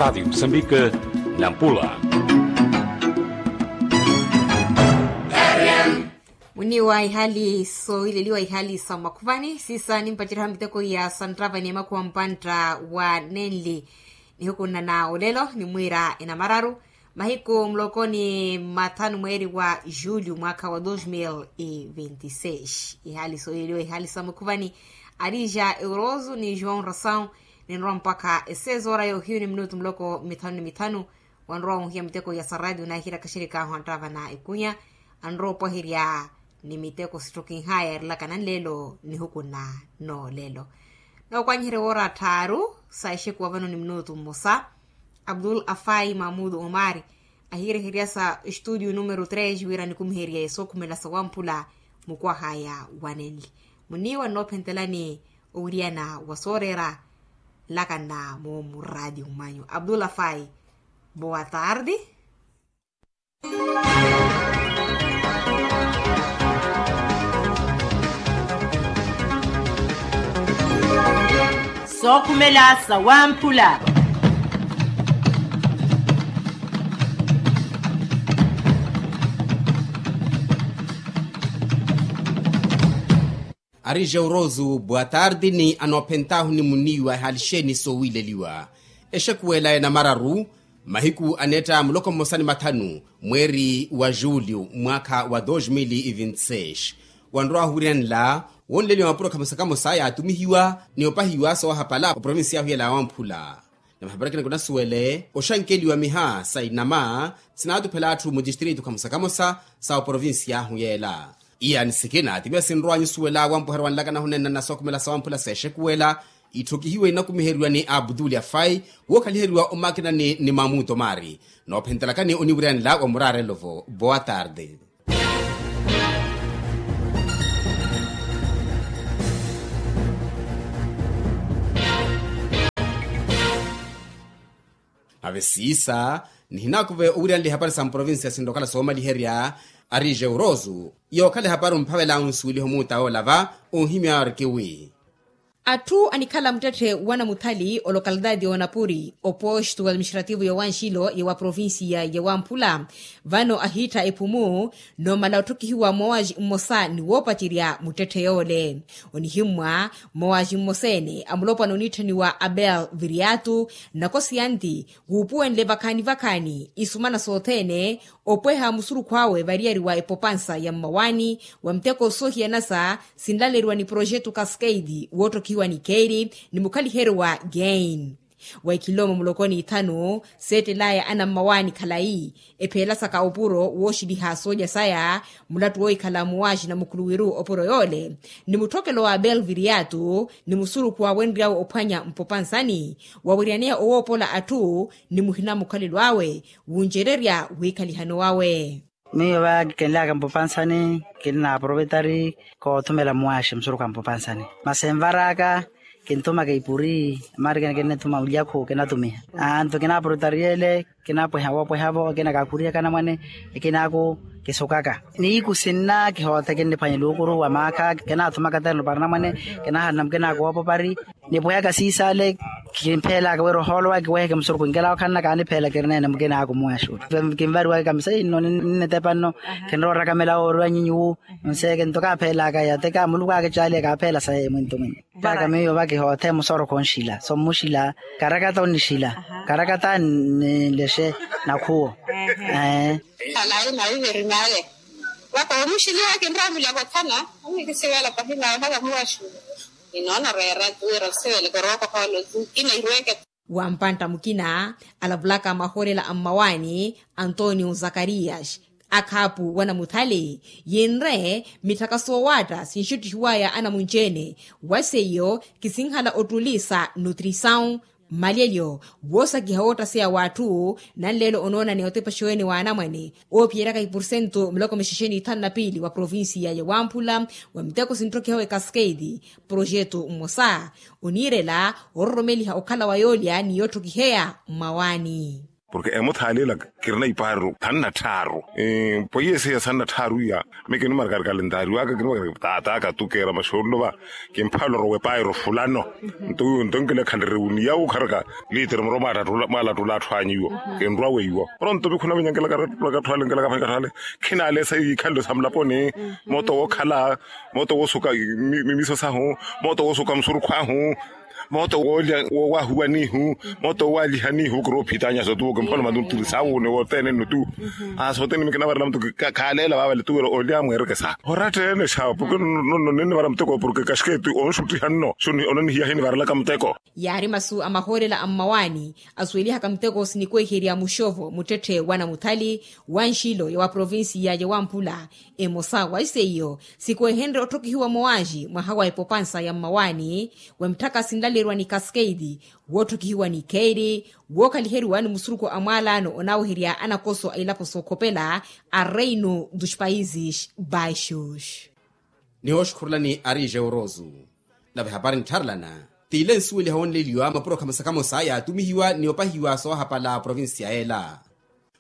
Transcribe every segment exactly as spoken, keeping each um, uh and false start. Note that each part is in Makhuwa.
Radi msambika, nampula. Muniwa ihali sowileliwa ihali sa makhuvani sisa nimpaceriha miteko ya santtavani ya makhuwa mpantta wa nenli. Nihukunna na olelo nimwiira enamararu mahiku muloko ni mathanu mweeri wa julho mwaakha wa dos mil e vinte e seis. Ihali sowileliwa ihali sa makhuvani, arija euroso ni joão rasaw. Ninrowa mpakha eseis ora yohiyu ni minutu muloko mithanu ni mithanu. Wanrowa onhiya miteko ya saradio nahirakha xerikahu anttavana ekunya anrowa opwaherya ni miteko sittokinhaya erilakana nlelo nihukunna noolelo. Nookwanyiherya woora tthaaru sa exekuwa vano ni minutu mmosa. Abdul afai mahmudu omari ahireherya sa estudio numero tres wira nikumiherye sookhumela sawamphula. Mukwahaya wanenli muniwa nnoophentelani owiriyana wa sooreera. Nlakana moomu radi umanyu abdul afai. Boa tardi. Sookhumela sawamphula. Ari jeurosu boa tardi ni anoophentaahu ni muniiwa ehalixeeni soowileliwa. Exekuwela enamararu mahiku aneetta muloko mmosa ni mathanu mweeri wa julho mwaakha wa dos mil e vinte e seis. Wanrowa ahuwiryanela wonleliwa mapuro khamosa kamosa yaatumihiwa ni opahiwa soowahapala oprovincia ahu yela ya wamphula. Na mahaparakina kunasuwele oxankeliwa miha sa inama sinaatuphela atthu mu distrito khamosa kamosa sa oprovincia ahu yela. Iya ni sikina timiya sinrowa nyusuwela wampuherya wanlakana hunenna na sookhumela sawamphula seexekuwela. Itthokihiwe inakumiheriwa ni abduli afai wookhaliheriwa omakinani ni mamuto mari. Noophentelakani oniwiryanela wa muraarelo-vo boa tarde. Nave siisa nihinakuve owiryanela ihapari sa mprovincia sinrokhala soomaliherya. Ari jeurosu yookhala ehapari omphavela onsuweliho muuta oolava onhimya arkiwi. Atthu anikhala muttetthe wa namuthali olokalitaati y'onapuri oposto administrativo ya wanxilo ya wa provincia ya wamphula. Vano ahiittha ephumu noomala otthokihiwa moowaji mmosa ni woopacerya muttetthe yoole. Onihimmwa moowaji mmosa-ene amulopwana oniitthaniwa abel viriatu. Nakosi yanti wuupuwenle vakhaani vakhaani isumana sothene opweha musurukhu awe variyari wa epopansa ya mmawaani wa muteko soohiyanasa sinlaleriwa ni projetu cascade woottokihiwa ni keeri ni mukhaliheryo wa gain. Wa ikhilomo mulokoni ithanu seettelaya anammawaani khalayi epheelasaka opuro wooxiliha soolya saya. Mulattu woohikhala muwaaxina mukhuluwiru opuro yoole ni mutthokelo wa belviriatu ni musurukhu awenryawe ophwanya mpopansani wawiryaneya owoopola atthu ni muhina mukhalelo awe wuncererya wiikhalihano wawe. Miyo va kinlaaka mpopansani kinna aprovetari koothumela muwaaxi musurukhu a mpopansani masi envaraka kinthumaka ipuri mari kina kinnithuma mulyakhu kinatumiha. Antu kinaprovetariyele kinapweha woopweha-vo kina kaakhuriyaka anamwane. Ekinaaku kisukaka niiku sinna kihoothe kinniphwanya luukuru wa maakha kinathumaka terno para anamwane. Kinahalana mukinaaku woopopari nipwehaka siisale kimpheelaka wira ohoolo waka kiweheke musurukhu nkela okhanna kaanipheela kirineene mukinaaku muwaxuuli. Kinvariwaka kamisa inno ninnitepa nno kinrowa orakamela wooriwa nyinyi wu. Nseeke nto kaapheelaka yateka muluku aakicaaliye kaapheela saye mwinto mwinyi. Taka miyo va kihoothe musorokho onxila so mmuxila karakata onixila karakata nilexe nakhuwo. Ee. Alayi nawiverimale vakoomuxiliwa kinramulyaka othana. Anikisivela pahina haka muwaxu inoona reera tuwira osiveleke orookohoolo tu kina irweke. Wa mpantta mukina alavulaka mahoolela a mmawaani antonio zakarias akhaapu wa namuthali yinre mitthaka soowaatta sinxuttihiwaya anamunci-ene. Wa seiyo kisinhala ottuli sa nutrisaw mmalyelyo woosakiha woottaseya w'atthu. Nanleelo onoona ni otepaxeweni w'anamwane oophiyeryaka ipursentu miloko mixexe n'ithanu na piili wa provincia ya wamphula wa miteko sinttokihawe cascade projetu mmosa oniirela ororomeliha okhala wa yoolya ni yotthokiheya mmawaani. Porke emuthaaleela kirina ipaaru thanna tthaaru. Poiyesiya sanna tthaaru iya. Mekeni markarkali ntaari waka kini markarkali taataka tukeera maxoololo va. Kimphaloro wepaaru fulano. Nto wiwo nto nkilekhaleriwu ni yawu kharaka. Liitiri muro mwaalattula atthu anyu iwo. Kinrwa weiwo pronto vikhuna vinyankelaka atthu ale nkilaka phani katthu ale. Khinaale sa iikhanle sa mulaponi. Mooto wookhala. Mooto woosuka mimiso sahu. Mooto woosuka musurukhu ahu. Mooto woolya woowahuwanihu. Mooto woowalihanihu kiri ophitanyaso tuwo kimpholo matuntiri sawuuni wothene nno tu. Aa sothene mikinavarela mutu. Khaaleela vaavale tuwira olya mweereke sa oratta ene xaawa porke nonno ninivara muteko porke kaxikeeti onxuttiha nno xo onanihiya hinivarelaka muteko. Yaari masu a mahoolela a mmawaani asuwelihaka muteko sinikweherya muxovo muttetthe wa namuthali wa nxilo ya wa provincia ya wamphula. Emosa wa iseiyo sikwehenrye otthokihiwa mowaaxi mwaha wa epopansa ya mmawaani. Wemutthaka sinlaleriwa ni cascade wootthokihiwa ni keiri. Wookhaliheriwa ni musurukhu a mwaalaano onaaweherya anakoso a ilapo sookhopela a reino dos países baixos. Nihooxukhurulani ari jeuroso. Nave hapari nttharelana t'ile nsuweliha woonleliwa mapuro khamosa khamosa yaatumihiwa ni opahiwa soohapala provincia ela.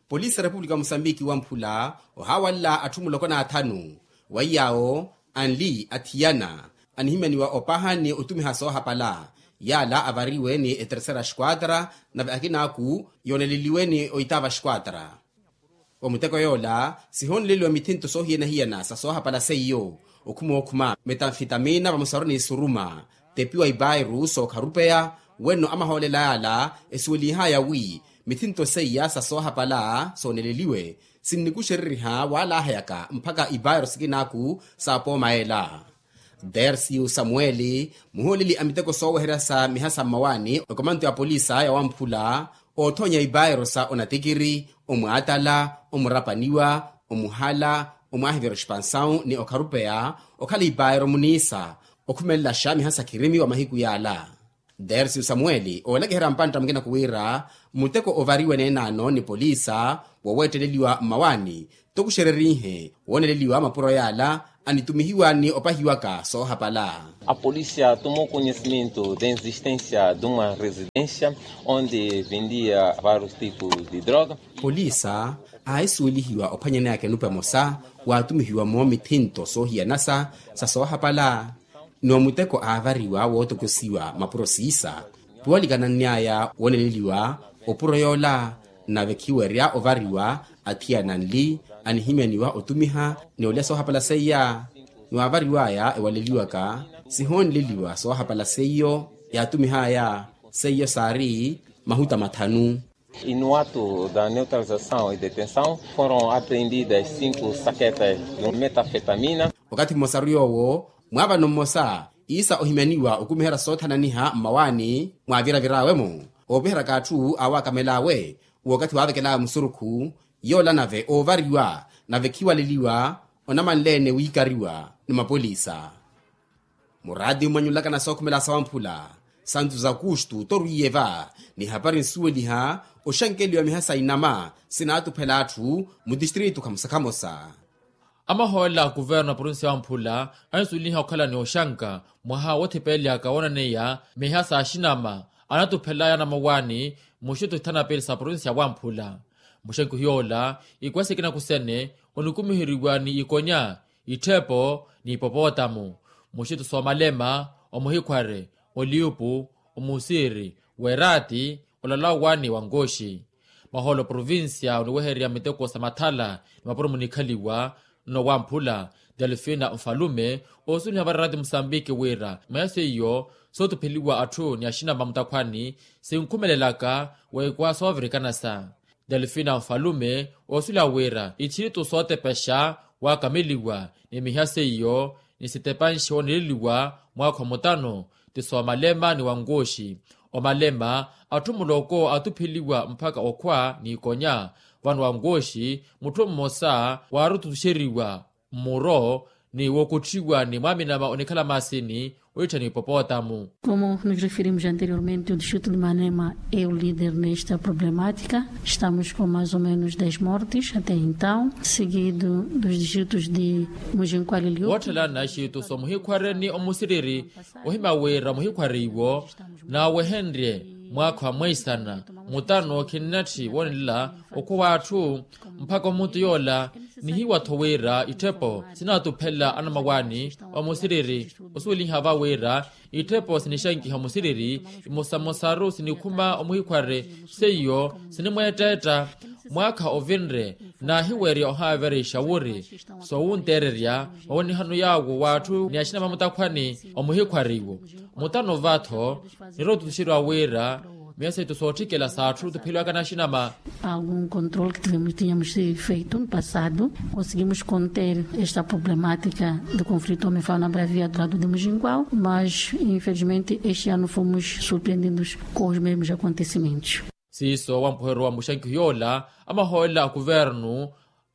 Polisi a repupulika wa musambiki wamphula ohaawanla atthu muloko n'athanu. Wa iyaawo anli athiyana anihimyaniwa opaha ni otumiha soohapala. Yaala avariwe ni etersera esquadra nave akinaaku yooneleliwe ni oitaava esquadra. Wa muteko yoola sihoonleliwa mithinto soohiyana-hiyana sa soohapala seiyo okhuma okhuma metanfitamina vamosaru ni suruma. Tepiwa ipairu sookharupeya wenno amahoolela yaala esuwelihaya wi mithinto seiya sa soohapala sooneleliwe sinnikuxereriha waalahayaka mpakha ipairu sikinaaku sa pooma ela. Dersiu samueli muhooleli a miteko sooweherya sa miha sa mmawaani okomanto ya polisa ya wamphula oothoonya ipaero sa onatikiri omwaatala omurapaniwa omuhala omwaahivira expansawu ni okharupeya okhala ipaero muniisa okhumelaxa miha sa khirimi wa mahiku yaala. Dersiu samueli oolakiherya mpantta mukina khuwiira muteko ovariwe neenaano ni poliisa woweetteleliwa mmawaani tokuxererihe wooneleliwa mapuro yaala anitumihiwa ni opahiwaka soohapala. A polícia tomou conhecimento da existência de uma residência onde vendia vários tipos de droga. Poliisa aahisuwelihiwa ophwanyaneyaka enupa emosa waatumihiwa-mo mithinto soohiyanasa sa soohapala. Ni omuteko aavariwa wootokosiwa mapuro siisa piwalikananny'aya wooneleliwa opuro yoola. Nave khiwerya ovariwa athiyana anli anihimyaniwa otumiha ni olya soohapala seiya. Ni waavariw'aya ewaleliwaka sihoonleliwa soohapala seiyo yaatumih'aya seiyo saari mahuta mathanu. Inuwato da neutralizasaw e detensaw foron apreendidas cinco saketas de metafetamina. Wakathi mmosaru yoowo mwaavano mmosa iisa ohimyaniwa okumiherya soothananiha mmawaani mwaaviravir'awe-mo oopiheryaka atthu aawakamel'awe wookathi waavekel'awe musurukhu. Yoola nave oovariwa nave khiwaleliwa onamanle-ene wiikariwa ni mapolisa. Muraati mmwanyulaka na sookhumela sa wamphula santu za kustu torwiye va ni hapari nsuweliha oxankeliwa miha sa inama sinaatuphela atthu mu tistritu khamosa khamosa. Amahoolela a kuvernu a provincia ya wamphula ansuweliha okhala ni oxanka mwaha woothipelelyaka woonaneya miha sa axinama anatuphelaya anamawaani muxithu ithana pili sa provincia ya wamphula. Muxanki ohiyoola ikwesekina kusene onikumiheryiwa ni ikonya itthepo ni ipopotamu muxithu soomalema omuhikhware oliupu omusiri weraati olalawa ni wankooxi. Mahoolo provincia oniwehererya miteko sa mathala ni mapuro munikhaliwa nno wamphula delfina nfalume oosuweliha varaati musambiki wira maya seiyo sootupheliwa atthu ni axinama mutakhwani sinkhumelelaka weekwa soovirikanasa. Delfina nfalume oosuweliha wira itthiritu sootepexa waakameliwa ni miha seiyo ni sitepanxe wooneleliwa mwaakha omutano ti soomalema ni wankooxi. Omalema atthu muloko atupheliwa mpakha okhwa ni ikonya vano wankooxi mutthu mmosa waarututuxeriwa mmuro ni wookutthiwa ni mwaaminama onikhala maasini oittha ni ipopotamu. Como nos referimos anteriormente o distrito de manema é o líder nesta problemática. Estamos com mais ou menos dez mortes até então seguido dos distritos de mujinkwalilio. Wootthela naxitu so muhikhware ni omusiriri ohimya wira muhikhware iwo naawehenrye mwaakha wa mweisana Mutano khinnatthi woonela okhuwa atthu mpakha omuntu yoola. Nihiwa-tho wira itthepo sinaatuphela anamawaani omusiriri osuweliha va wira itthepo sinixankiha omusiriri imosamosaru sinikhuma omuhikhwari. Seiyo sinimweettetta mwaakha ovinre naahiwerya ohaaverexa wuri soowunteererya mawenihano yaawo w'atthu ni axina va mutakhwani. Omuhikhwari iwo mutano va-tho nirootutuxeriwa wira miya seitu sootthikela s'atthu tupheliwaka n'axinama. Algum controle que tivemos tínhamos feito no passado, conseguimos conter esta problemática do conflito homem fala na bravia do lado de mujingual mas infelizmente este ano fomos surpreendidos com os mesmos acontecimentos. Siiso wampuheryo wa muxankiho yoola amahoolela a kuvernu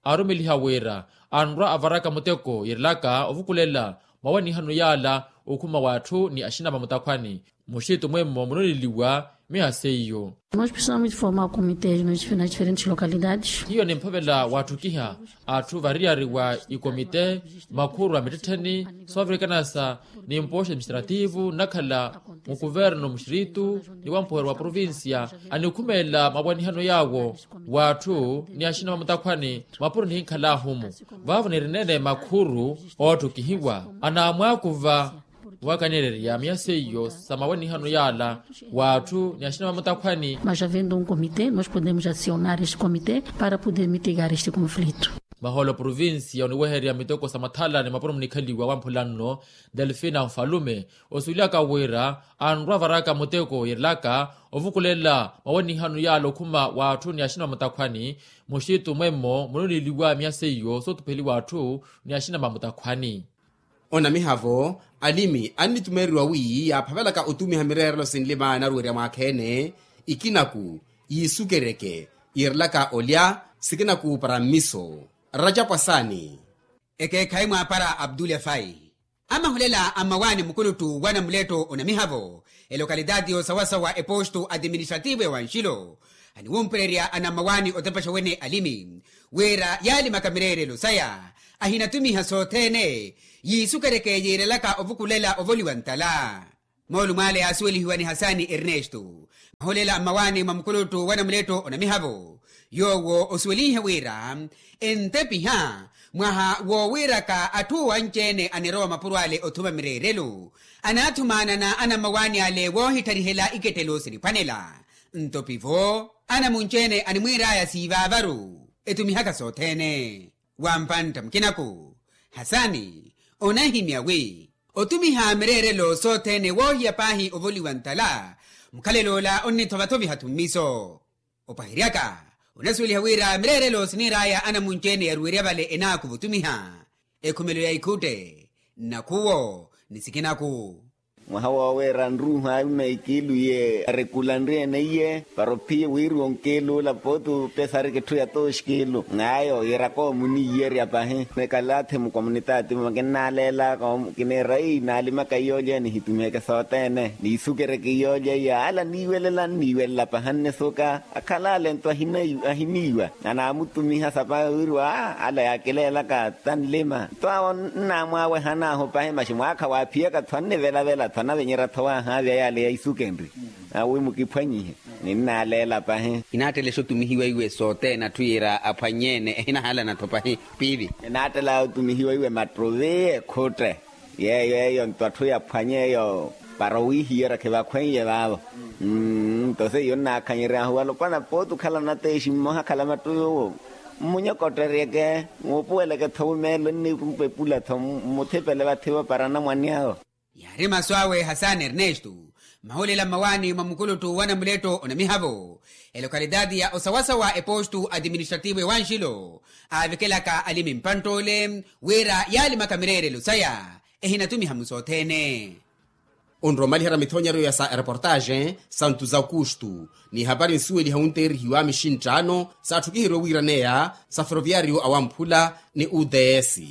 aarumeliha wira anrwa avaraka muteko yiirelaka ovukulela mawanihano yaala okhuma w'atthu ni axina va mutakhwani. Muxitu mwemmo munoneliwa miya seiyo. Nós precisamos de formar comités nas diferentes localidades. Hiyo nimphavela watthukiha atthu variyari wa ikomite makhuru a mittettheni soovirikana sa nimpooxa administrativu nnakhala mukuvernu muxiritu ni wampuheryo wa provincia anikhumelela mawanihano yaawo w'atthu ni axina va mutakhwani mapuro nihinkhal'ahu-mu. Vaavo nirineene makhuru ootthukihiwa anaamwaakuva wakanirerya miya seiyo sa mawanihano yaala w'atthu ni axina va mutakhwani. Mas havendo um comité nós podemos acionar este comité para poder mitigar este conflito. Mahoolo provincia oniwehererya miteko sa mathala ni mapuro munikhaliwa wamphula nno delfina nfalume osuwelihaka wira anrwa avaraka muteko yiirelaka ovukulela mawanihano yaala okhuma w'atthu ni axina va mutakhwani. Muxitu mwemmo munoneliwa miya seiyo sootupheliwa atthu ni axina va mutakhwani. Onamiha-vo alimi annitumeeriwa wi yaaphavelaka otumiha mireerelo sinlima anaruwerya mwaakha-ene ikinaku yiisukereke yiirelaka olya sikinaku para mmiso. Rajapu asaani. Ekeekhayi mwaapara abdul efai amahulela a mmawaani mukuluttu wa namuletto onamiha-vo elokalitaati y'osawasawa epostu atiministrativu ya wanxilo aniwumpererya anammawaani otepexa wene alimi wira yaalimaka mireerelo saya ahinatumiha sothene yiisukereke yiirelaka ovukulela ovoliwa ntala. Moolumo ale yaasuwelihiwa ni hasani ernesto mahulela a mmawaani mwa mukuluttu wa namuletto onamiha-vo yoowo osuwelinhe wira entepiha mwaha woowiiraka atthu anci-ene anirowa mapuro ale othuma mireerelo anaathumaanana anammawaani ale woohittarihela ikettelo siniphwanela. Nto pivo anamunci-ene animwiir'aya siivaavaru etumihaka sothene wa mpantta mukinaku hasani onahimya wi otumiha mireerelo sothene woohiya paahi ovoliwa ntala mukhalel'ola onnithovathoviha-tho mmiso. Opaheryaka onasuweliha wira mireerelo siniir'aya anamunci-ene yaruwerya vale enaakuva otumiha ekhumelo ya ikhutte nnakhuwo ni sikinaku. Mwaha woowiira nruuha aima ikiilu iye arekulanrye-ene iye para ophiye wiiriwa onkiilu ola pooti opesarika etthu ya tooxkiilu n'ayo yiiraka omuniiyerya pahi. Nikalathi mukomunitaati mwa kinnaleelaka kiniira ii naalimaka iyoolya nihitumiheke sothene niisukereke iyoolya iya ala niiwelela nniiwelela pahi annisuka akhala ale nto ahiniiwa anaamutumiha sapa wiiriwa ala yaakileelaka tanlima nto awo nnaamwaawehan'ahu pahi maxi mwaakha waaphiyaka-tho annivelavela-tho anavenyerya-tho waahaavya yaale ya isukenri awi mukiphwanyihe. Ninnaleela pahi. Inaattelexa otumihiwa iwe sothene atthu yiira aphwanye-ene ehinahaalana-tho pahi piivi. Inaattela otumihiwa iwe mattuvi ekhutte yeeyo eyo nto atthu yaphwanye eyo para owiihiyerya khivakhweiye vaavo. Nto seiyo nnaakhanyeryahu alopwana pooti okhala nateexi mmoha akhala mattuvi owo mmunyokotteryeke muupuweleke-tho wumeelo nniipepula-tho mmuthipele vathi-vo para anamwani awo. Yaari masu awe hasani ernesto mahulela mmawaani mwa mukuluttu wa namuletto onamiha-vo elokalitaati ya osawasawa epostu atiministrativu ewanxilo aavekelaka alimi mpantt'ole wira yaalimaka mireerelo saya ehinatumiha-mu sothene. Onrowa omaliherya mithonyeryo ya sa ereportaxe santu za okustu ni ehapari nsuweliha wunteerihiwa mixinttaano saatthukiheryiwe wiiraneya sa feroviariyo awamphula ni uts.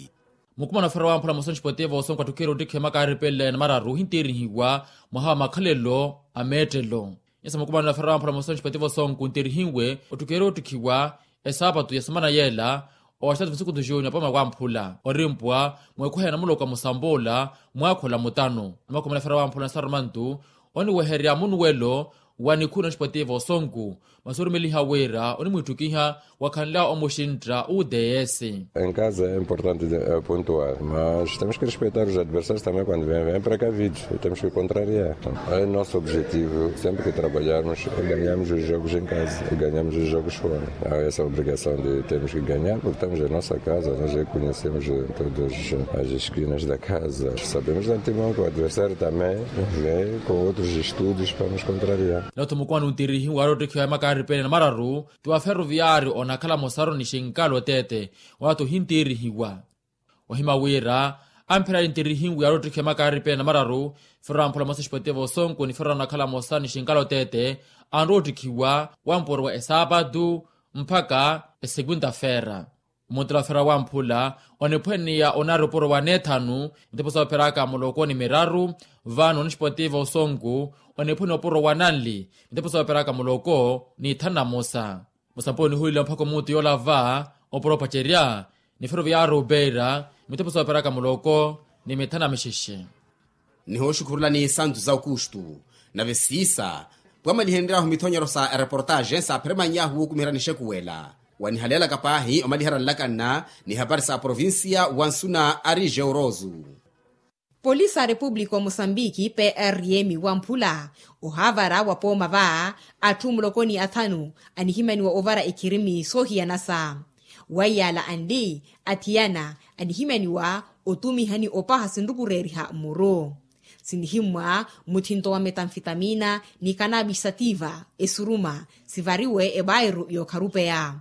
Mukumana ofera wamphula mosonxi potivo osonko attukhiherya ottikhiwa makaari pele na mararu ohinteerihiwa mwaha wa makhalelo a meettelo. Nyasa mukumana ofera wamphula mosonxi potivo osonko onteerihiwe ottukhiherya ottikhiwa esaapatu ya semana yeela oxitaatu masukutu juni apoma wamphula orimpwa mweekhuheya na muloka musampoola mwaakhola mutano na makhumi na ofera wamphula na sarumantu oniweherya munuwelo Wa nikhuna oxipoteva osonku, masi orumeliha wira onimwitthukiha wakhanla omuxintta u ds. Enkaza é importante pontual mas temos que respeitar os adversários também quando vem vem precavidos. Temos que contrariar. É nosso objetivo sempre que trabalharmos ganhamos os jogos em casa ganhamos os jogos fora. Essa obrigação de termos que ganhar porque estamos em nossa casa nós reconhecemos todas as esquinas da casa sabemos de antemão que o adversário também vem com outros estudos para nos contrariar. Notho mukwani ontirihiwa aroottikhiwa ya makaari pene na mararu, ti wa ferroviario onakhala mosaru ni xinkalo tete. Wati ohintiirihiwa ohima wira ampherari ntirihinwi aroottikhiwa ya makaari pene na mararu, ferro amphula mosa exipoteva osonku ni ferro anakhala mosa ni xinkalo tete anroottikhiwa wampuro wa esaapatu mpakha esekwinta-feera. Omutela wa ferro wamphula oniphwaniya onaari opuro wa neethanu, mitepo soopheraka muloko ni miraru. Vano onixipoteva osonku oniphwaniya opuro wa nanli, mitepo soopheraka muloko ni ithanu na mosa. Musampo onihuweliwa mpakha omutu yoolava opuro opacerya ni ferroviario beira, mitepo soopheraka muloko ni mithanu na mixexe. Nihooxukhurulani santu za okustu nave siisa pwamalihenryahu mithonyero sa ereportaxe saapheremannyahu wookumiherani exekuwela. Wanihaleelaka paahi omaliherya nlakanna ni hapari sa provincia wansuna ari georoso. Polisi a repupulika omosambiki prm wamphula ohaavara wa pooma va atthu muloko ni athanu anihimaniwa ovara ekhirimi soohiyanasa. Wa iyaala anli athiyana anihimaniwa otumiha ni opaha sinrukureeriha mmuru sinihimmwa muthinto wa metanfitamina ni kanabisa tiva esuruma sivariwe ebairu y'okharupeya.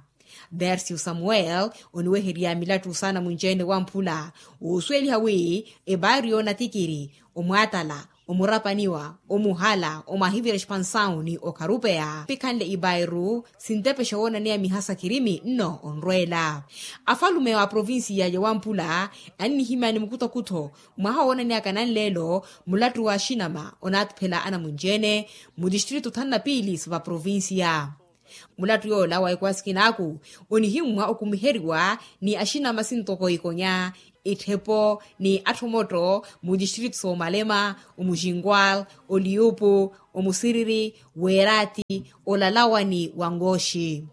Dercio samuel oniweherya milattu saana munci-ene wamphula woosuweliha wi ebairu yoonatikiri omwaatala omurapaniwa omuhala omwahivira expansawu ni okharupeya pikhanle ibairu sintepexa woonaneya miha sa khirimi nno onrweela. Afalume wa provincia ya wamphula annihimani mukuthokutho mwaha woonaneyaka nanleelo mulattu wa axinama onaatuphela anamunci-ene mu distritu thanu na piili sa va provincia. Mulattu yoola wa ikwasikinaku onihimmwa okumiheriwa ni axinama sintoko ikonya itthepo ni atthu omotto mu distritu soomalema omuxinkwal oliyupu omusiriri weerati olalawani wa ngoxi.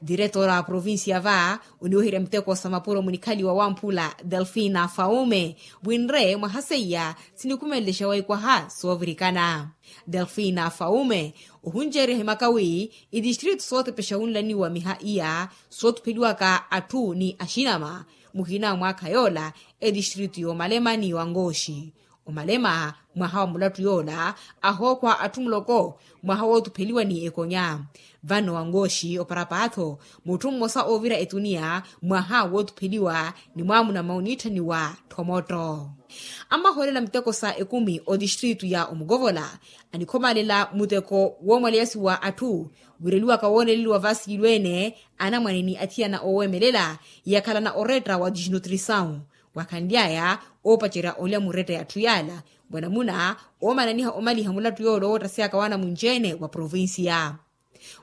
Diretora wa provincia va oniweherya miteko sa mapuro munikhaliwa wamphula delfina faume winre mwaha seiya sinikhumelelexa waikwaha soovirikana. Delfina faume ohunceerya himaka wi itistritu sootepexa wunlaniwa miha iya sootupheliwaka atthu ni axinama muhina mwaakha yoola etistritu yoomalema ni wangoxi. Omalema mwaha wa mulattu yoola ahookhwa atthu muloko mwaha wootupheliwa ni ekonya. Vano wangoxi oparapaatho mutthu mmosa oovira etuniya mwaha wootupheliwa ni mwaamuna mmauniitthaniwa tthomotto. Ammahoolela miteko sa ekumi otistritu ya omukovola anikhomalela muteko woomwaleyasi wa atthu wireliwaka wooneleliwa vasiilweene anamwane ni athiyana oowemelela yakhalana oretta wa disnutrisawu. Wakhanly'aya oopacerya olya muretta y'atthu yaala mwanamuna oomananiha omaliha mulattu yoole owoottasyaka w'anamunci-ene wa provincia.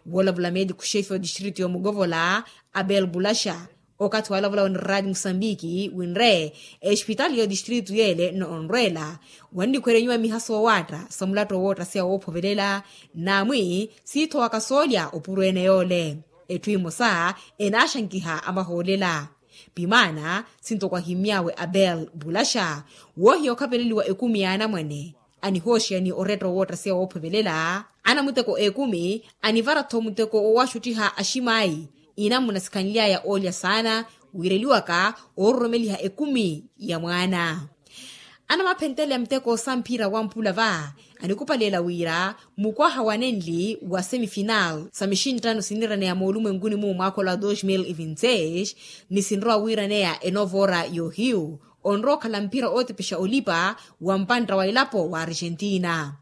Woolavula meetiku xefi wa distritu y'omukovola abel bulaxa okathi waalavula onirraati musambiki winre exipitaali y'otistritu yeele nno onrweela wannikwerenyiwa miha soowaatta sa mulattu owoottaseya woophovelela. Naamwi siittho wakasoolya opuro ene yoole etthu emosa enaaxankiha amahoolela. Pimaana sinto kwahimmy'awe abel bulaxa woohiya okhapeleliwa ekumi y'anamwane anihooxeya ni oretta owoottaseya woophovelela anamuteko ekumi anivara-tho muteko woowaxuttiha aximaayi. Inamuna sikhanly'aya oolya saana wiireliwaka oororomeliha ekumi ya mwaana. Anamaphentteleya muteko sa mphira wa mphula va anikupalela wira mukwaha wa nenli wa semifinal sa mixinttano siniraneya moolumwenkuni-mu mwaakhola wa dos mil vinti seis ni sinrowa wiiraneya enovora y'ohiyu onrowa okhala mphira ootepexa olipa wa mpantta wa elapo wa argentina.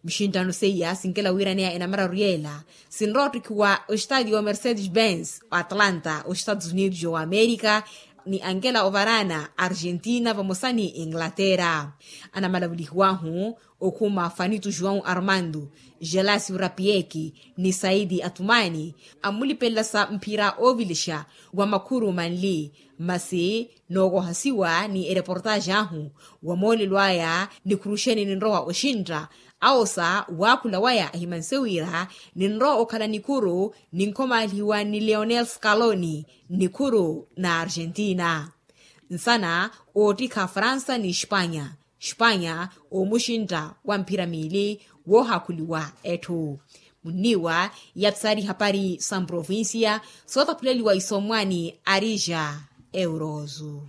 Mixinttano seiya sinkela wiiraneya enamararu yeela sinrowa ottikhiwa ostadio wa mercedes benz atlanta ostados unidos wa amerika ni ankela ovarana argentina vamosa ni inglaterra. Anamalavulihiwahu okhuma fanitu joão armando gelasio rapieki ni saidi atumani ammulipelelasa mphira oovilixa wa makhuru manli. Masi nookohasiwa ni ereportaxi ahu wa moolelo aya nikhuruxeni ninrowa oxintta Awo sa waakhula waya ahimanse wira ninrowa okhala nikhuru ninkhomaalihiwa ni leonel scaloni nnikhuru na argentina. Nsana oottikha fransa ni espanya, espanya omuxintta wa mphira miili woohakhuliwa etthu. Munniiwa yapsari hapari sa mprovincia sootaphuleliwa isomwani arija eurozu.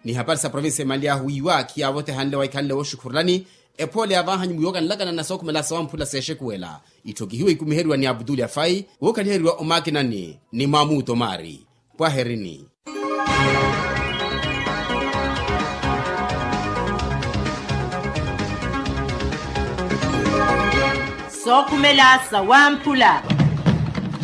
Ni hapari sa provinsi emanly'ahu wiiwa khiyaavotehanle waikhanle wooxukhurulani. Ephoole yaavanhanyu mwiiwokanlakana na sookhumela sawamphula seexekuwela itthokihiwe ikumiheryiwa ni abutuli afai wookhaliheriwa omakinani ni mwamuuto maari. Pwaherini. Sookhumela sawamphula.